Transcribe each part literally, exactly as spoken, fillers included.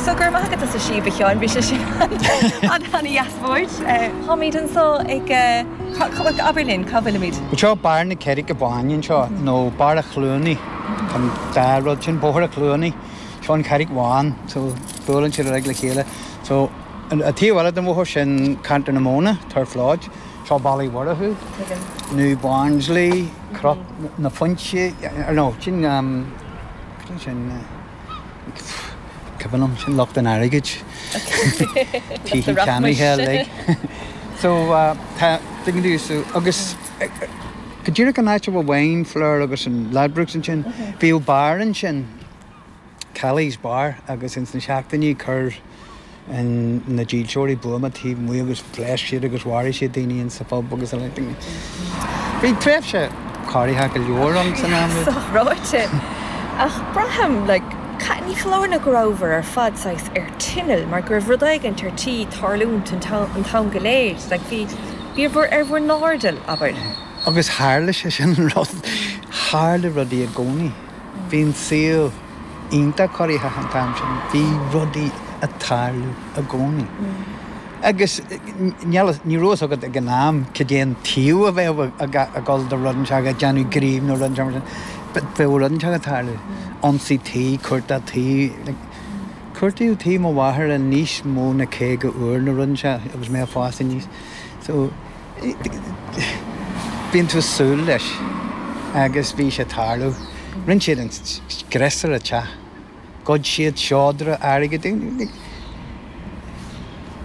So gur maith agat as an síob, a Sheáin, bhí sé sin an-dheas bord. Táimid anseo ag abair linn, cá bhfuilimid? Seo Barr na Carraige Báine anseo nó Barr a Chluanaí an dá rud sin Bóthar a Chluanaí seo an Charraig Bhán so buaileann siad uilig le chéile. So an taobh eile den bhóthar sin Ceantar na Móna, Turf Lodge, seo Baile Mhurchú, New Barnsley, Cnoc na Foinse, no sin sin Cuimhin liom sin lucht an airgid tithe ceannaithe uilig. So tá so agus go díreach an áit a bhfuil Wine Fleur agus an Ladbrokes ansin, bhíodh bar ansin, Kelly's Bar agus ins na seachtainí chuir an na dílseoirí buama taobh amuigh agus phléasc siad agus mharaigh siad daoine in sa phub agus a leithéid. Bhí tréimhse corraitheach go leor ann san am. Ráite ach braithim like, ní foláir nó go rabhabhair ar fad saghas ar tinneall mar go raibh rud éigin ar tí tarlúint an t-am go léir, like bhí bhí bhur ar bhur n-airdeall abair. Agus tharla sé sin an rud tharla rudaí i gcónaí. Bhí an saol iontach corraitheach an t-am sin, bhí rudaí ag tarlú i gcónaí. Agus ní raibh fhios agat ag an am cad é an taobh a bheadh ag dul do rud inteacht ag déanamh gníomh nó rud inteacht mar sin. But bheadh rud inteacht ag tarlú. Ionsaí tí, cuartú tí, like, cuartaíodh tí mo mháthar níos mó ná caoga uair nó rud inteacht agus mé ag fás aníos. So bíonn tú ag súil leis agus bhí sé ag tarlú. Rinne siad an scrios ar an teach. Ghoid siad seodra airgid.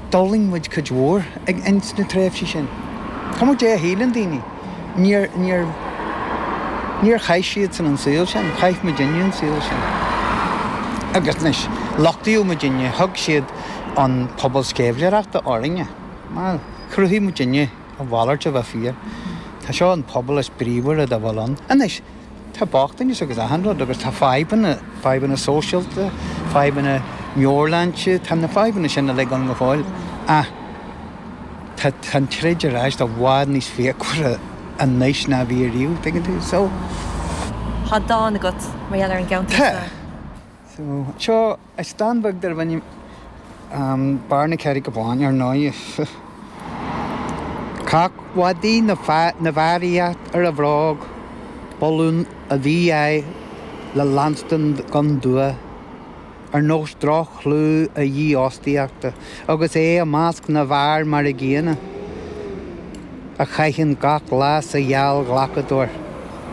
D'fhulaing muid cuid mhór ag ins na tréimhsí sin. Cuma dé a shíleann daoine. Níor níor níor chaith siadsan an saol sin, chaith muidinne an saol sin. Agus anois lochtaíodh muidinne, thug siad an pobal sceimhlitheoireachta orainne. Mar chruthaigh muidinne a mhalairt a bheith fíor. Tá seo an pobal is bríomhaire dá bhfuil ann. Anois tá bochtanas agus achan rud agus tá fadhbanna, fadhbanna sóisialta, fadhbanna meabhairshláinte, tá na fadhbanna sin uilig ann go fóill. Ach tá tá an troid ar ais i bhfad níos fíochmhaire anois ná bhí riamh, tuigeann tú? So Tá dán agat mar gheall ar an gceantar Tá. seo. So seo is dán beag darb ainm um, Barr na Carraige Báine ar ndóigh. Cac mhadaidh na na bhfearaíocht ar a bhróg, b'fhonn a mhí-ádh le leanstan gan dua, ar nós droch-chlú a dhífhostaíochta, agus é i measc na bhfear mar a gcéanna, a chaitheann gach lá sa gheallghlacadóir,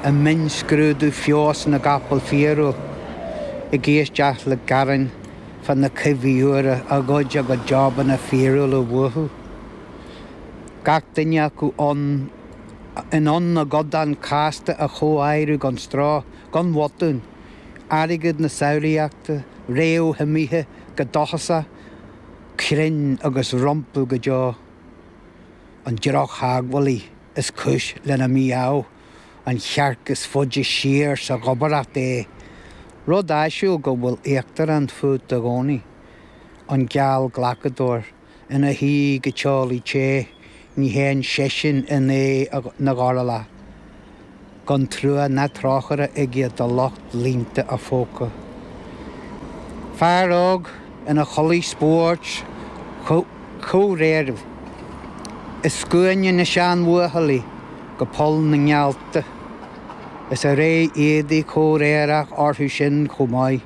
i mionnscrúdú feabhas na gcapall fíorúil, ag éisteacht le gearáin fá na cuimhní úra a ghoid a gcuid jabanna fíorúla uathu. Gach duine acu ann in ann a gcodán casta a chomháireamh gan stró, gan bhotún, airgead na samhlaíochta, réamh-shuimithe go dóchasach, cruinn agus rompu go deo. An drochtheagmhálaí is cúis lena mí-ádh, an chearc is faide siar sa ghobaireacht é, rud áisiúil go bhfuil íochtarán fút i gcónaí, an geallghlacadóir ina shuí go teolaí te, ní théann seisean in aghaidh na gcorrlach, gan trua ná trócaire aige do lucht líonta a phóca. Fear óg ina chulaith spóirt chomhréireach, i scuaine na seanbhuachaillí go Poll na nGealta, is a ré éadaí comhréireach orthu sin chomh maith,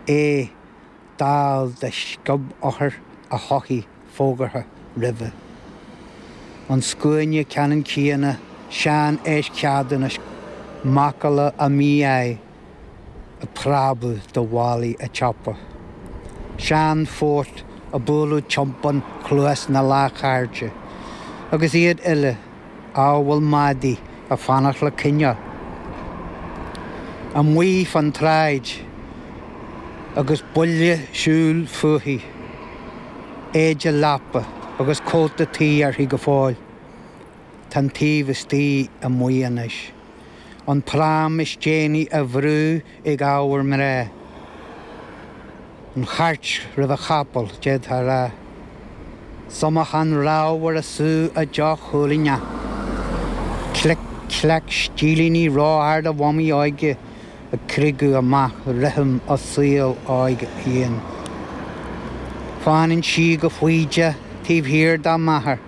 é dall de sciob-othar a thodhchaí fógartha roimhe. An scuaine ceannann céanna, sean-eischeadúnais, macalla a mí-ádh, ag preabadh do bhallaí an tsiopa. Seanphort ag bualadh tiompán chluas na leathchairde, agus iad uile amhail madaí ag fanacht le coinneáil. Amuigh fan tsráid agus buille siúil fúithi, éide leapa agus cóta tuí uirthi go fóill. Tá an taobh istigh amuigh anois. An pram is déanaí á bhrú ag ábhar mná. An chairt roimh an chapall, d'fhéadfá a rá. Sumachán ramhar ag sú a deoch choilíneach. Clic clac stílíní ró-arda mhamaí óige ag criogadh amach rithim a saoil óig féin. Fanann sí go foighdeach taobh thiar dá máthair,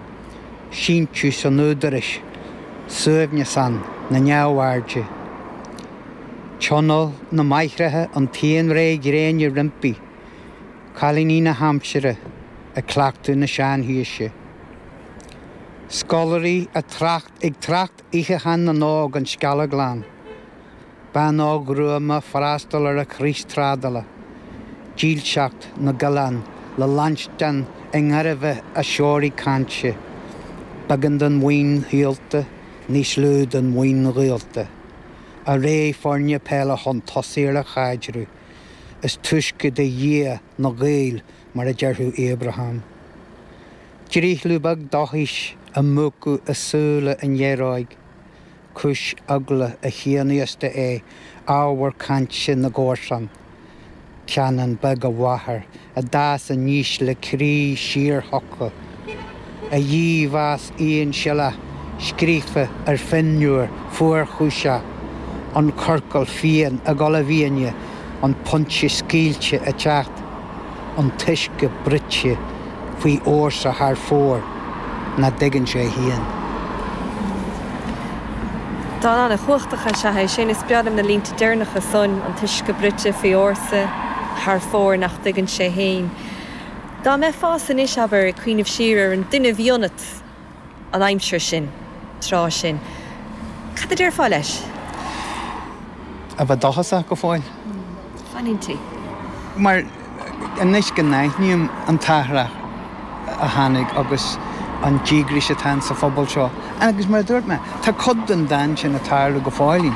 síntiús an údaráis, suaimhneas ann na neamhairde. Tionól na máithreacha an t-aon ré gréine roimpi, cailíní na haimsire ag cleachtadh na seanhaoise. Scoláirí ag trácht Oíche Chan na nÓg an Sceallaglan. Bean óg ghruama freastal ar a chrios trádála. Dílseacht na gcoileán le leanstan i ngairbhe a seoraí cainte. Beagán den mhaoin shaolta, níos lú den mhaoin ghaolta. A ré foirne peile chun tosaigh ar a chaidreamh. Is túisce de Dhia na Gaeil mar a déarfadh Abraham. Drithliú beag dóchais a múchadh i súile an ghéaróig. Cúis eagla a chianaosta é ábhar cainte na gcomharsan. Ceanann beag a mháthar a d'fhás aníos le croí síorshioctha. A dhímheas aonsiollach scríofa ar phinniúr fuarchúiseach, an corcal fiáin ag dul i bhfiáine, an pointe scaoilte ag teacht, an t-uisce bruite faoi fhórsa thar fóir nach dtuigeann sé féin. Dán an-chumhachtach is ea é sin is breá liom na línte deireanacha san an t-uisce bruite faoi fhórsa thar fóir nach dtuigeann sé féin. Dá mbeifeása anois abair ag cuimhneamh siar ar an duine a bhí ionat an aimsir sin, tráth sin. Cad a déarfá leis? A bheith dóchasach go fóill. Fanúint. Mar anois go n-aithním an t-athrach a tháinig agus an díograis atá sa phobal seo. Agus mar a dúirt mé, tá cuid den dán sin ag tarlú go fóill.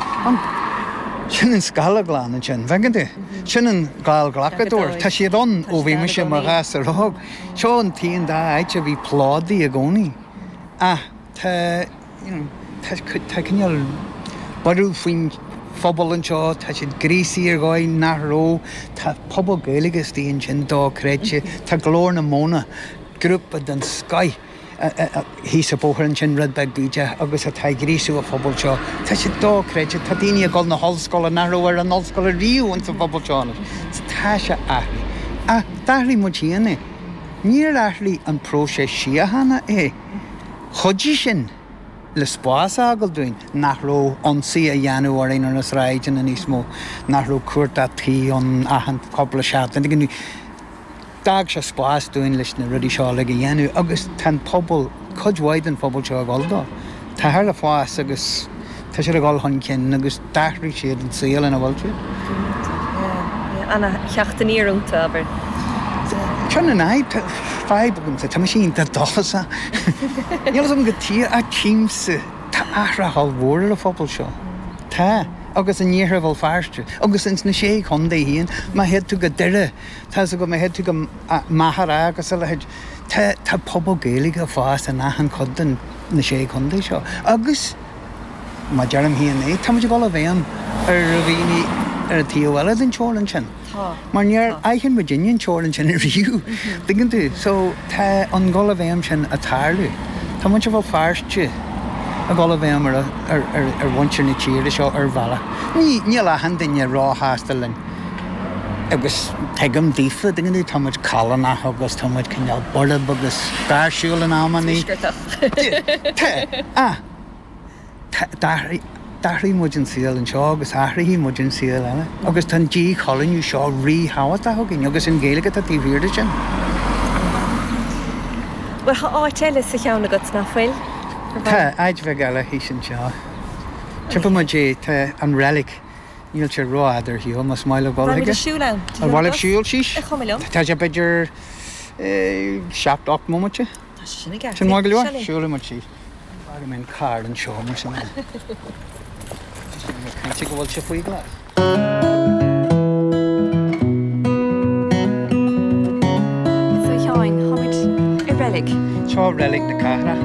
Sin an Sceallaglan ansin, bhfeiceann tú? Sin an Gallghlacadóir, Tá siad ann ó bhí mise mar ghasúr óg. Seo an t-aon dá áit a bhí plódaithe i gcónaí. Ach tá you know, tá tá cineál borradh faoin phobal anseo, tá siad gríosaithe ar dhóigh nach raibh, tá pobal Gaeilge istigh ansin dochreidte, tá Glór na Móna, grúpa den scoith thíos an bóthar ansin rud beag bídeach agus atá ag gríosú an phobal seo. Tá sé dochreidte, tá daoine ag dul na hollscoile nach raibh ar an ollscoil riamh insa phobal seo anois. Tá sé athraithe. Ach d'athraigh muid féin é. Níor athraigh an próiseas síochána é. Chuidigh sin le spás a fhágáil dúinn nach raibh ionsaí a dhéanamh orainn ar na sráideanna níos mó, nach raibh cuardach tí ann achan cúpla seachtain. D'fhág sé spás dúinn leis na rudaí seo uilig a dhéanamh agus tá an pobal, cuid mhaith den phobal seo ag dul dó. Tá thar le fás agus tá siad ag dul chun cinn agus d'athraigh siad an saol ina bhfuil siad. An-theacht aniar iontu, abair. Sin an fhadhb, fadhb agamsa, tá mise iontach dóchasach. Níl a fhios agam go tí ach tchímse tá athrach ollmhór ar an phobal seo. Tá, agus in iarthar Bhéal Feirste, agus ins na sé chontae féin, má théid tú go Doire, tá fhios agam má théid tú go Machaire agus a leithéid, tá tá pobal Gaeilge ag fás in achan chuid den na sé chontae seo. Agus má deirim féin é, tá muid ag dul i bhfeidhm ar dhaoine ar an taobh eile den teorainn sin. Tá. Mar níor aithin muidinne an teorainn sin riamh. Tuigeann tú? So tá an dul i bhfeidhm sin ag tarlú. Tá muintir Bhéal Feirste ag dul i bhfeidhm ar ar ar ar mhuintir na tíre seo ar bhealach. Ní níl achan duine róshásta linn. Agus tuigim daofa, tuigeann tú, tá muid callánach agus tá muid cineál borb agus gáirsiúil in amannaí. Tuaisceartach. Tá, ah, d'athraigh d'athraigh muid an saol anseo agus athraíonn muid an saol eile. Agus tá an díchoilíniú seo ríthábhachtach againn agus an Ghaeilge atá taobh thiar de sin. Bhuel tá áit eile sa cheann agat nach bhfuil? Tá áit bheag eile thíos anseo. Tiocfaidh muid é tá an reilig níl sé rófhada ar shiúl más maith le dul Táimid chuige. ag siúl ann. An bhfuil siúl síos? Is cuma liom. Tá sé b'fhéidir seacht ocht mbomaite. Tá sé sin i gceart. Sin maith go leor Sin é. siúlfaidh muid síos. Fágfaidh mé an carr anseo mar sin. Cinnte go bhfuil sé faoi ghlas. So Sheáin, táimid i reilig. Seo reilig na cathrach.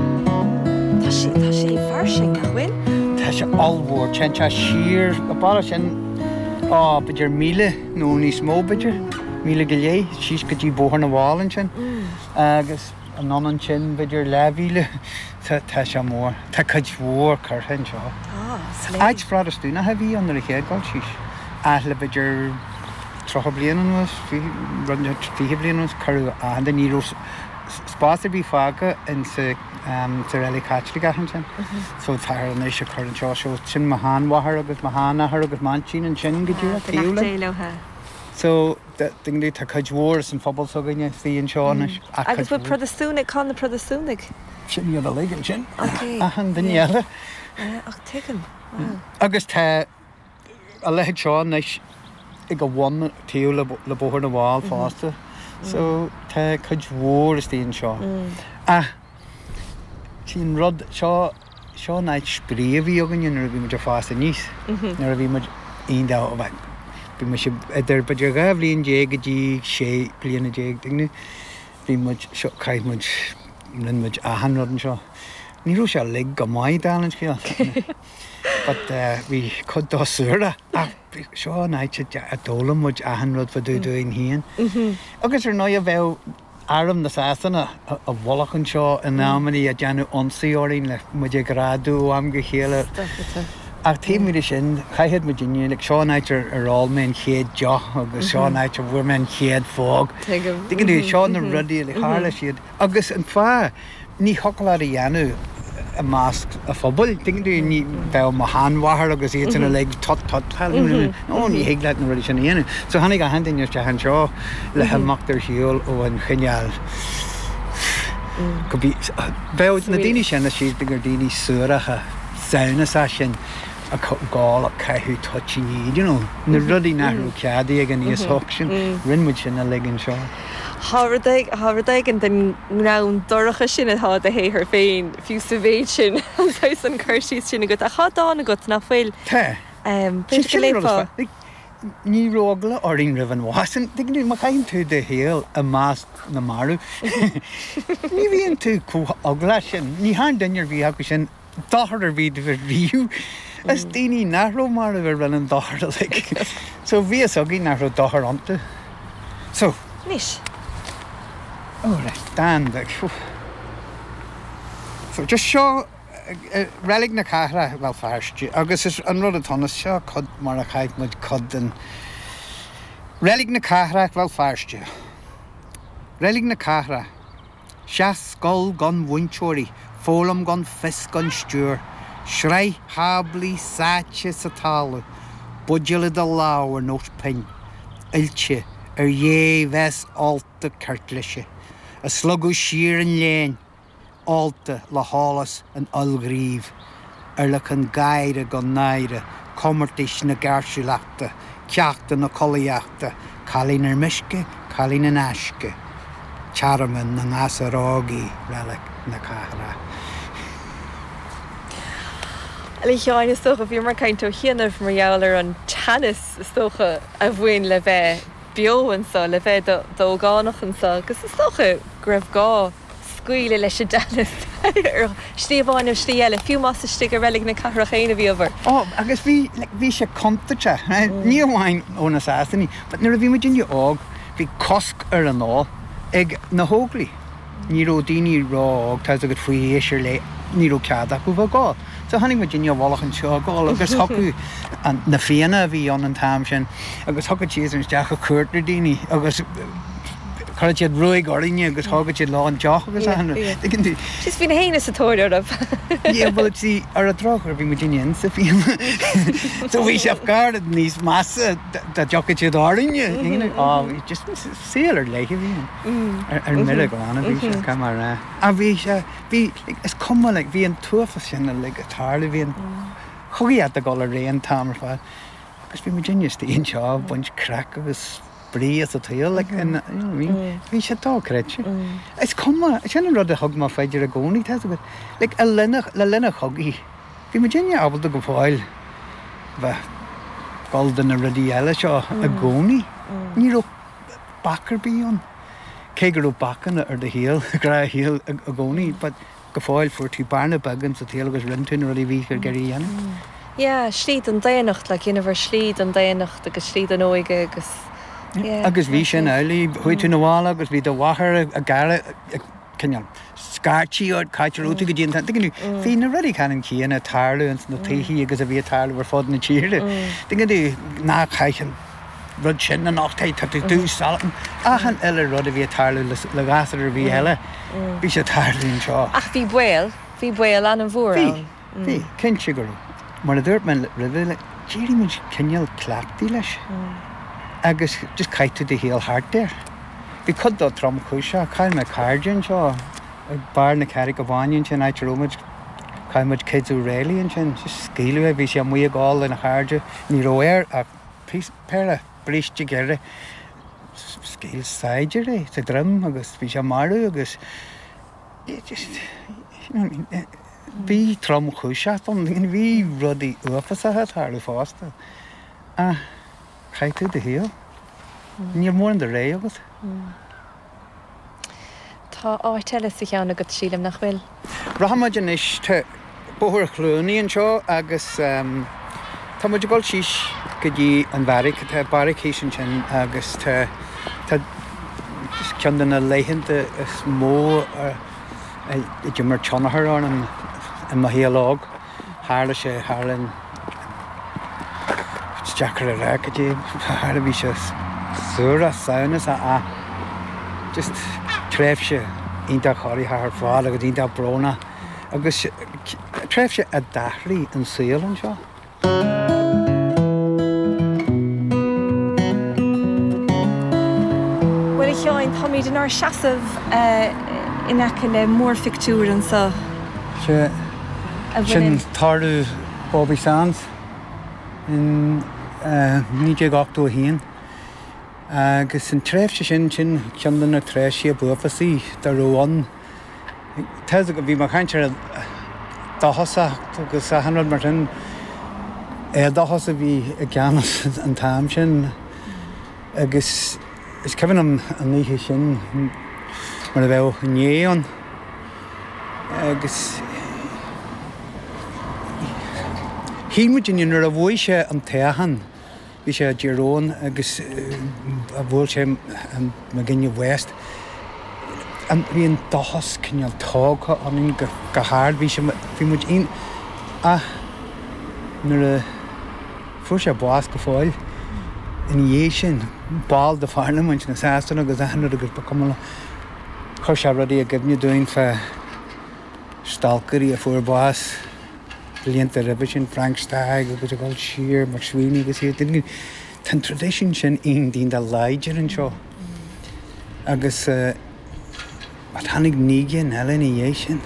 Tá sé tá sé fairsing nach bhfuil? Tá sé ollmhór téann sé siar a bharra sin á b'fhéidir míle nó níos mó b'fhéidir míle go leith síos go dtí Bóthar na bhFál ansin agus anonn ansin b'fhéidir leathmhíle tá tá sé mór Tá cuid mhór curtha anseo. Tá Áit Phrotastúnach a bhí ann ar a chéad dul síos. Ach le b'fhéidir tríocha bliain anuas, rud fiche bliain anuas, cuireadh achan duine, ní raibh spás ar bith fágtha in sa sa reilig Chaitliceach ansin. So táthar anois ag cur anseo, so sin mo sheanmháthair agus mo sheanathair agus m'aintín ansin go díreach taobh linn. So tá cuid mhór as an phobal s'againne istigh anseo anois. Agus bhfuil Protastúnaigh, cá na Protastúnaigh? Sin iad uilig ansin. Achan duine eile. Ach tuigim, wow. Agus tá a leithéid seo anois ag a bhun taobh le Bóthar na bhFál fosta. So tá cuid mhór istigh anseo. Ach sí an rud seo, seo an áit spraoi a bhí againne nuair a bhí muid ag fás aníos. Nuair a bhí muid aon dá, bhí mise idir b'fhéidir dhá bhliain déag go dtí sé bliana déag, tuigeann tú? Bhí muid, seo, chaith muid, rinne muid achan rud anseo. Ní raibh sé uilig go maith, dála an scéil. But bhí cuid dó suarach ach seo an áit a d'fhoghlaim muid achan rud fá dtaobh dúinn féin. Agus ar ndóigh bheadh arm na Sasana i bhfolach anseo in amannaí ag déanamh ionsaí orainn le muid a ghreadadh ó am go chéile. Ach taobh amuigh de sin, chaithfeadh muidinne, like, seo an áit ar ar ól mé an chéad deoch agus seo an áit a bhfuair mé an chéad phóg. Tuigeann tú, seo na rudaí a tharla siad. Agus an fáth, ní thiocfadh leat a dhéanamh i measc an phobail, tuigeann tú, ní bheadh mo sheanmháthair agus iad sin uilig tut tut, no, ní thig leat na rudaí sin a dhéanamh. So tháinig achan duine isteach anseo le himeacht ar shiúl ó an chineál go bí, bheadh na daoine sin a síltear gur daoine suaracha, samhnasach sin ag gabháil ag caitheamh toitíní, you know, na rudaí nach raibh ceadaithe ag an aos óg sin, rinne muid sin uilig anseo. Tá rud tá rud éigin den ngreann dorcha sin atá i do shaothar féin, fiú sa mhéid sin, saghas an cur síos sin agat. Ach tá dán agat nach bhfuil? Tá. B'fhéidir go léifeá. Ní raibh eagla orainn roimh an bhás. Tuigeann tú, má chaitheann tú do shaol i measc na marbh, ní bhíonn tú chomh eaglach sin. Ní thearn duine ar bith acu sin dochar ar bith daoibh riamh. Is daoine nach raibh marbh a rinne an dochar uilig. So bhí fhios againn nach raibh dochar iontu. So. Anois. Oh, right, dán beag. So just seo Reilig na Cathrach, Bhéal Feirste, agus is an rud atá ann, is seo cuid mar a chaith muid cuid den Reilig na Cathrach, Bhéal Feirste. Reilig na Cathrach. Seacht scoil gan mhúinteoirí, foghlaim gan fios gan stiúir, sraith tháblaí sáite sa talamh, buidéal i do lámh ar nós pinn, oilte ar dhébhéas ólta ceirtlise, a slogadh siar an léan, ólta le heolas an fhuilghnímh, urlacan gáire gan náire, comórtais na gáirsiúlachta, ceachtanna collaíochta, cailín ar meisce, cailín in aisce, tearmann na ngasúr óg í Reilig na Cathrach. A Sheáin, is dócha, bhíomar ag caint ó chianaibh mar gheall ar an teannas is dócha a bhain le bheith beo anseo, le bheith i d'ógánach anseo, agus is dócha go raibh gá scaoileadh leis an dteannas ar shlí amháin nó slí eile, fiú más istigh i Reilig na Cathrach féin a bhíobhair. Ó, agus bhí, like, bhí sé contúirteach, ní amháin ó na Sasanaigh, but nuair a bhí muidinne óg, bhí cosc ar an ól ag na hÓglaigh. Ní raibh daoine ró-óg, tá 'fhios agat, faoi aois ar leith, ní raibh cead acu bheith ag ól. So tháinig muidinne i bhfolach anseo ag ól agus thiocfadh an, na Fianna a bhí ann an t-am sin agus thiocfadh siad isteach ag cuartú daoine agus chuireadh siad ruaig orainne agus thógadh siad leo an deoch agus achan rud. Tuigeann tú? Just bhí na héinne sa tóir oraibh. Yeah, well, see, ar an drochuair bhí muidinne insa Fianna. So bhí sé gairid níos measa dá dtiocfadh siad orainne. You know? Oh, bhí just saol ar leith a bhí ann. Ar, ar mire glan a bhí sé, caithfidh mé a rá. Ach bhí sé, bhí, like, is cuma, like, bhí an t-uafás sin uilig ag tarlú, bhí an chogaíocht ag dul ar aghaidh an t-am ar fad. Agus bhí muidinne istigh anseo ag baint craic agus spraoi as an tsaol, like, in, you know what I mean? Bhí sé dochreidte. Is cuma, sin an rud a thug mé faoi deara i gcónaí, tá 'fhios agat. Like, i linn a, le linn an chogaidh, bhí muidinne ábalta go fóill bheith dul do na rudaí eile seo i gcónaí. Ní raibh bac ar bith ann. Cé go raibh bacanna ar do shaol, gnáthshaol i gcónaí, but go fóill fuair tú bearna beag in sa tsaol agus rinne tú na rudaí a bhí ag iarraidh a dhéanamh. Yeah, slí don daonnacht, like, dheineabhair slí don daonnacht agus slí don óige agus, yeah. Agus bhí sin amhlaidh, chuaigh tú 'na bhaile agus bhí do mháthair ag gearradh, ag cineál scairtigh ort, cá háit a raibh tú go dtí an t-am, tuigeann tú, bhí na rudaí ceannann céanna ag tarlú ins na tithe agus a bhí ag tarlú ar fud na tíre. Tuigeann tú, ná caith an rud sin anocht, tá tú dubh salach, achan uile rud a bhí ag tarlú le gasúr ar bith eile, bhí sé ag tarlú anseo. Ach bhí baol, bhí baol an-mhór ann. Bhí, bhí, cinnte go raibh. Mar a dúirt mé roimhe, like, d'éirigh muid cineál cleachtaithe leis agus just chaith tú do shaol thart air. Bhí cuid dó tromchúiseach, chaill mé cairde anseo ag barr na Carraige Báine ansin, áit a raibh muid, chaill muid Kids O'Reilly ansin, just scaoileadh é, bhí sé amuigh ag ól lena chairde, ní raibh air ach péire bríste géire, scaoil saighdiúir é sa droim agus bhí sé marbh agus just, you know what I mean, bhí tromchúiseacht ann, bhí rudaí uafásacha ag tarlú fosta. Ach chaith tú do shaol. Níl mórán de rogha agat. Tá áit eile sa cheann agat, sílim, nach bhfuil? Rachaimid anois, tá Bóthar Chluanaí anseo agus tá muid ag dul síos go dtí an bheairic, tá beairic thíos ansin agus tá tá ceann de na laethanta is mó a d'imir tionchar orm i mo shaol óg. Tharla sé thar an Is deacair a rá cad é tharla, bhí sé suarach, samhnasach ach just tréimhse iontach corraitheach ar fad agus iontach brónach agus tréimhse a d'athraigh an saol anseo. Bhuel, a Sheáin, táimid inár seasamh in aice le múrphictiúr anseo. Sea, sin tórramh Bobby Sands in naoi déag ochtó a haon agus an tréimhse sin, sin ceann de na tréimhsí ab uafásaí dá raibh ann. Tá a fhios agat, bhí mé ag caint ar dóchasacht agus achan rud mar sin, éadóchas a bhí i gceannas an t-am sin agus is cuimhin liom an oíche sin mar a bheadh inné ann agus shíl muidinne nuair a bhuaigh sé an toghchán, bhí sé i dTír Eoghain agus bhuail sé McGuinness West, bhí an dóchas cineál tógtha ionainn go hard, bhí sé, bhí muid iontach, ach nuair a fuair sé bás go fóill ina dhiaidh sin, ball de Pharlaimint na Sasana agus achan rud agus ba chuma leo, chuir sé rudaí i gcuimhne dúinn fá stalcairí a fuair bás blianta roimhe sin, Frank Stagg agus ag dul siar, MacSwiney agus iad. Tá an traidisiún sin iontach láidir anseo agus tháinig naoi gcinn eile ina dhiaidh sin.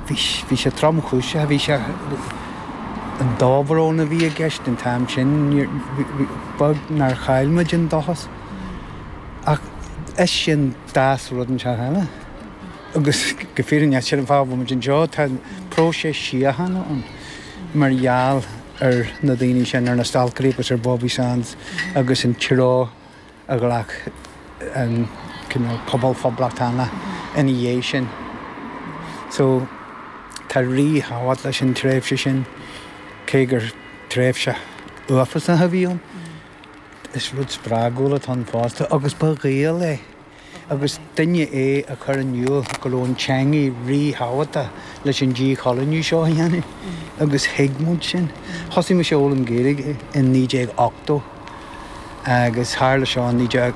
Bhí bhí sé tromchúiseach, bhí sé an dobhrón a bhí i gceist an t-am sin, beag nár chaill muid an dóchas. Ach is sin d'fhás rud inteacht eile. Agus go fírinneach, sin an fáth a bhfuil muid anseo, tá próiseas síochána ann mar gheall ar na daoine sin, ar na stalcairí agus ar Bobby Sands agus an treo a ghlac an cineál pobal phoblachtánach ina dhiaidh sin. So tá ríthábhacht leis an tréimhse sin, cé gur tréimhse uafásach a bhí ann. Is rud spreagúil atá ann fosta agus ba Ghael é agus duine é a chuir in iúl go raibh an teanga ríthábhachtach leis an díchoilíniú seo a dhéanamh agus thuig muid sin. Thosaigh mise a fhoghlaim Gaeilge in naoi déag ochtó agus tharla seo in naoi déag